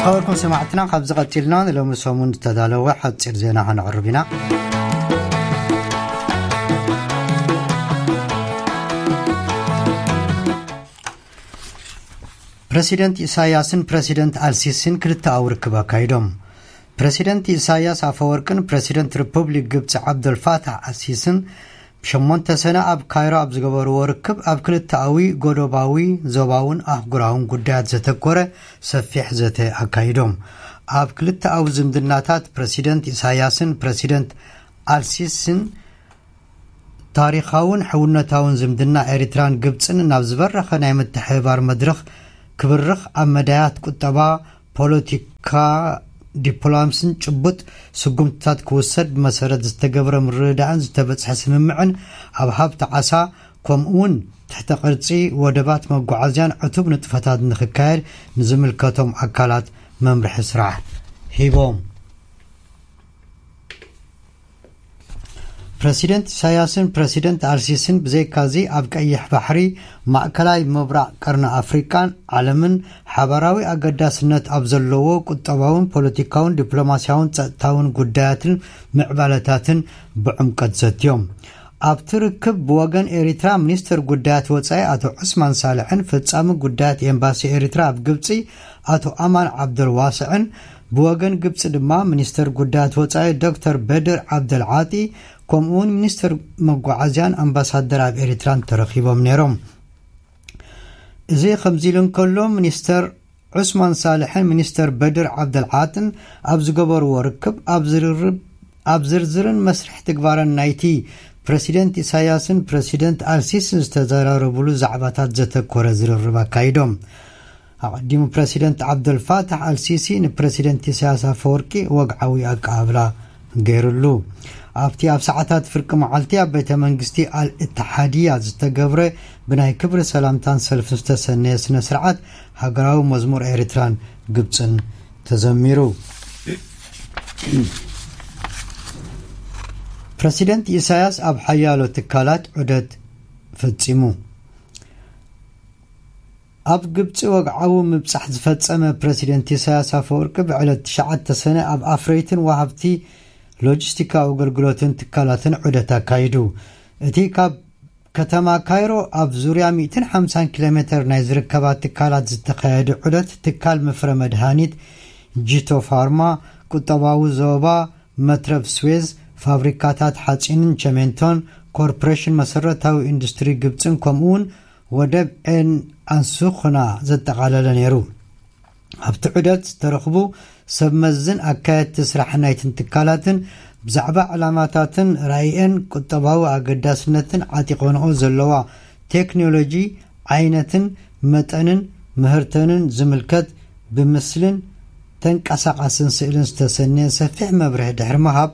ኣወልኩም ሰማዕትና፣ ካብዚ ቀጺልና ንሎሚ ሰሙን ዝተዳለወ ሓጺር ዜና ከነቕርብ ኢና። ፕረሲደንት ኢሳያስን ፕረሲደንት ኣልሲሲን ክልተኣዊ ርክብ ኣካይዶም። ፕረሲደንት ኢሳያስ ኣፈወርቅን ፕረሲደንት ሪፑብሊክ ግብፂ ዓብደልፋታሕ ኣልሲስን ብሸሞንተ ሰነ ኣብ ካይሮ ኣብ ዝገበርዎ ርክብ፣ ኣብ ክልተኣዊ፣ ጎዶባዊ፣ ዞባውን ኣህጉራውን ጉዳያት ዘተኮረ ሰፊሕ ዘተ ኣካይዶም። ኣብ ክልተኣዊ ዝምድናታት ፕረሲደንት ኢሳያስን ፕረሲደንት ኣልሲስን ታሪኻውን ሕውነታውን ዝምድና ኤሪትራን ግብጽን ናብ ዝበረኸ ናይ ምትሕብባር መድረኽ ክብርኽ፣ ኣብ መዳያት ቁጠባ፣ ፖለቲካ፣ ዲፕሎማስን ጭቡጥ ስጉምትታት ክውሰድ ብመሰረት ዝተገብረ ምርድዳእን ዝተበጽሐ ስምምዕን ኣብ ሃብቲ ዓሳ፣ ከምኡውን ትሕተ ቅርጺ ወደባት መጓዓዝያን ዕቱብ ንጥፈታት ንክካየድ ንዝምልከቶም ኣካላት መምርሒ ስራሕ ሂቦም። ፕረሲደንት ኢሳያስን ፕረሲደንት ኣልሲስን ብዘይካዚ ኣብ ቀይሕ ባሕሪ፣ ማእከላይ ምብራቕ፣ ቀርኒ ኣፍሪቃን ዓለምን ሓባራዊ ኣገዳስነት ኣብ ዘለዎ ቁጠባውን ፖለቲካውን ዲፕሎማስያውን ጸጥታውን ጉዳያትን ምዕባለታትን ብዕምቀት ዘትዮም። ኣብቲ ርክብ ብወገን ኤሪትራ ሚኒስተር ጉዳያት ወጻኢ ኣቶ ዑስማን ሳልሕን ፈጻሚ ጉዳያት ኤምባሲ ኤሪትራ ኣብ ግብጺ ኣቶ ኣማን ዓብደልዋስዕን፣ ብወገን ግብጺ ድማ ሚኒስተር ጉዳያት ወጻኢ ዶክተር በድር ዓብደልዓጢ፣ ከምኡውን ሚኒስተር መጓዓዝያን ኣምባሳደር ኣብ ኤሪትራን ተረኺቦም ነይሮም። እዚ ከምዚ ኢሉ እንከሎ፣ ሚኒስተር ዑስማን ሳልሕን ሚኒስተር በድር ዓብደልዓጥን ኣብ ዝገበርዎ ርክብ፣ ኣብ ዝርርብ፣ ኣብ ዝርዝርን መስርሕ ትግባረን ናይቲ ፕረሲደንት ኢሳያስን ፕረሲደንት ኣልሲስን ዝተዘራረብሉ ዛዕባታት ዘተኮረ ዝርርብ ኣካይዶም። ኣቐዲሙ ፕረሲደንት ዓብደልፋታሕ ኣልሲሲ ንፕረሲደንት ኢሳያስ ኣፈወርቂ ወግዓዊ ኣቀባብላ ገይሩሉ። ኣብቲ ኣብ ሰዓታት ፍርቂ መዓልቲ ኣብ ቤተ መንግስቲ ኣል እትሓድያ ዝተገብረ ብናይ ክብሪ ሰላምታን ሰልፍን ዝተሰነየ ስነ ስርዓት ሃገራዊ መዝሙር ኤርትራን ግብጽን ተዘሚሩ። ፕረሲደንት ኢሳያስ ኣብ ሓያሎ ትካላት ዑደት ፈጺሙ። ኣብ ግብጺ ወግዓዊ ምብጻሕ ዝፈጸመ ፕረሲደንት ኢሳያስ ኣፈወርቂ ብዕለት ትሽዓተ ሰነ ኣብ ኣፍረይትን ወሃብቲ ሎጂስቲካዊ ኣገልግሎትን ትካላትን ዑደት ኣካይዱ። እቲ ካብ ከተማ ካይሮ ኣብ ዙርያ ሚእትን ሓምሳን ኪሎ ሜተር ናይ ዝርከባ ትካላት ዝተኻየደ ዑደት፣ ትካል መፍረ መድሃኒት ጂቶ ፋርማ፣ ቁጠባዊ ዞባ መትረብ ስዌዝ፣ ፋብሪካታት ሓጺንን ቸሜንቶን፣ ኮርፖሬሽን መሰረታዊ ኢንዱስትሪ ግብጽን ከምኡውን ወደብ ኤን ኣንሱኽና ዘጠቓለለ ነይሩ። ኣብቲ ዑደት ዝተረኽቡ ሰብ መዝን ኣካየድቲ ስራሕ ናይትን ትካላትን ብዛዕባ ዕላማታትን ራእየን፣ ቁጠባዊ ኣገዳስነትን ዓጢቖንኦ ዘለዋ ቴክኖሎጂ ዓይነትን መጠንን ምህርተንን ዝምልከት ብምስልን ተንቀሳቓስን ስእልን ዝተሰነየ ሰፊሕ መብርሂ ድሕሪ ምሃብ፣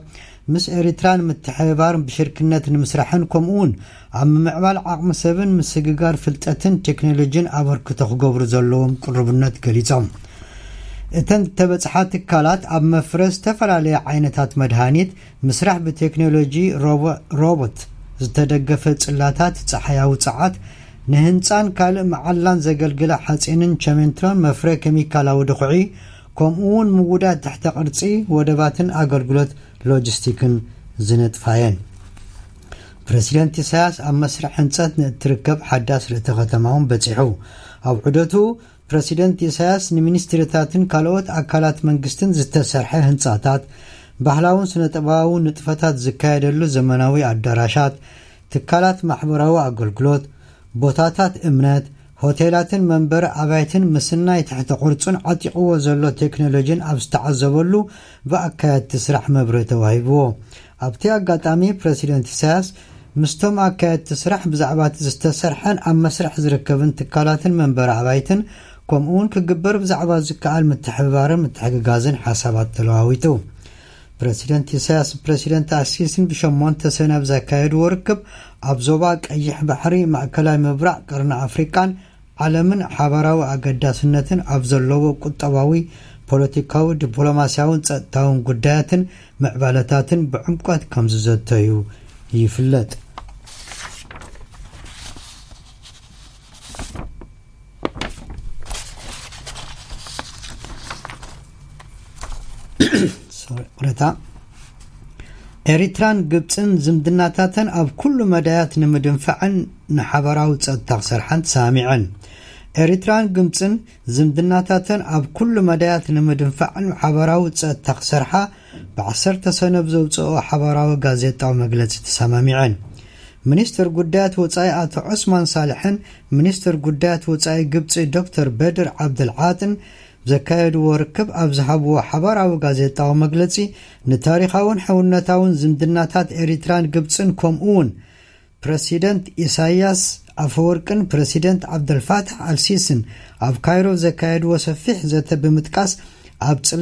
ምስ ኤሪትራ ንምትሕብባርን ብሽርክነት ንምስራሕን ከምኡውን ኣብ ምምዕባል ዓቕሚ ሰብን ምስግጋር ፍልጠትን ቴክኖሎጂን ኣበርክቶ ክገብሩ ዘለዎም ቅሩብነት ገሊጾም። እተን ዝተበጽሓ ትካላት ኣብ መፍረ ዝተፈላለየ ዓይነታት መድሃኒት፣ ምስራሕ ብቴክኖሎጂ ሮቦ-፣ ሮቦት ዝተደገፈ ጽላታት፣ ጸሓያዊ ጸዓት፣ ንህንጻን ካልእ መዓላን ዘገልግላ ሓጺንን ቸሜንቶን፣ መፍረ ኬሚካላዊ ድኹዒ፣ ከምኡውን ምውዳድ ትሕተ ቅርጺ ወደባትን ኣገልግሎት ሎጂስቲክን ዝነጥፋ እየን። ፕረሲደንት ኢሳያስ ኣብ መስርሕ ህንጸት ንእትርከብ ሓዳስ ርእተ ከተማ እውን በጺሑ። ኣብ ዑደቱ ፕረሲደንት ኢሳያስ ንሚኒስትሪታትን ካልኦት ኣካላት መንግስትን ዝተሰርሐ ህንጻታት፣ ባህላውን ስነ-ጥበባውን ንጥፈታት ዝካየደሉ ዘመናዊ ኣዳራሻት፣ ትካላት ማሕበራዊ ኣገልግሎት፣ ቦታታት እምነት፣ ሆቴላትን መንበሪ ኣባይትን ምስናይ ትሕተ ቅርጹን ዓጢቕዎ ዘሎ ቴክኖሎጂን ኣብ ዝተዓዘበሉ ብኣካየድቲ ስራሕ መብርሂ ተዋሂብዎ። ኣብቲ ኣጋጣሚ ፕረሲደንት ኢሳያስ ምስቶም ኣካየድቲ ስራሕ ብዛዕባ እቲ ዝተሰርሐን ኣብ መስርሕ ዝርከብን ትካላትን መንበሪ ኣባይትን ከምኡውን ክግበር ብዛዕባ ዝከኣል ምትሕብባርን ምትሕግጋዝን ሓሳባት ተለዋዊጡ። ፕረሲደንት ኢሳያስ ፕረሲደንት ኣልሲሲን ብሸሞንተ ሰነ ኣብ ዘካየድዎ ርክብ ኣብ ዞባ ቀይሕ ባሕሪ፣ ማእከላይ ምብራቕ፣ ቀርኒ ኣፍሪቃን ዓለምን ሓባራዊ ኣገዳስነትን ኣብ ዘለዎ ቁጠባዊ፣ ፖለቲካዊ፣ ዲፕሎማስያውን ጸጥታውን ጉዳያትን ምዕባለታትን ብዕምቆት ከም ዝዘተዩ ይፍለጥ። ሶሪ፣ ቅሬታ። ኤሪትራን ግብጽን ዝምድናታተን ኣብ ኩሉ መዳያት ንምድንፋዕን ንሓበራዊ ጸጥታ ክሰርሓን ተሰማሚዐን። ኤሪትራን ግብጽን ዝምድናታተን ኣብ ኩሉ መዳያት ንምድንፋዕን ሓበራዊ ጸጥታ ክሰርሓ ብ10 ሰነ ብዘውጽኦ ሓበራዊ ጋዜጣዊ መግለጺ ተሰማሚዐን። ሚኒስትር ጉዳያት ወጻኢ ኣቶ ዑስማን ሳልሕን ሚኒስትር ጉዳያት ወጻኢ ግብጺ ዶክተር በድር ዓብደልዓጥን ዘካየድዎ ርክብ ኣብ ዝሃብዎ ሓባራዊ ጋዜጣዊ መግለጺ፣ ንታሪኻውን ሕውነታውን ዝምድናታት ኤሪትራን ግብጽን ከምኡ እውን ፕረሲደንት ኢሳያስ ኣፈወርቅን ፕረሲደንት ዓብደልፋታሕ ኣልሲስን ኣብ ካይሮ ዘካየድዎ ሰፊሕ ዘተ ብምጥቃስ፣ ኣብ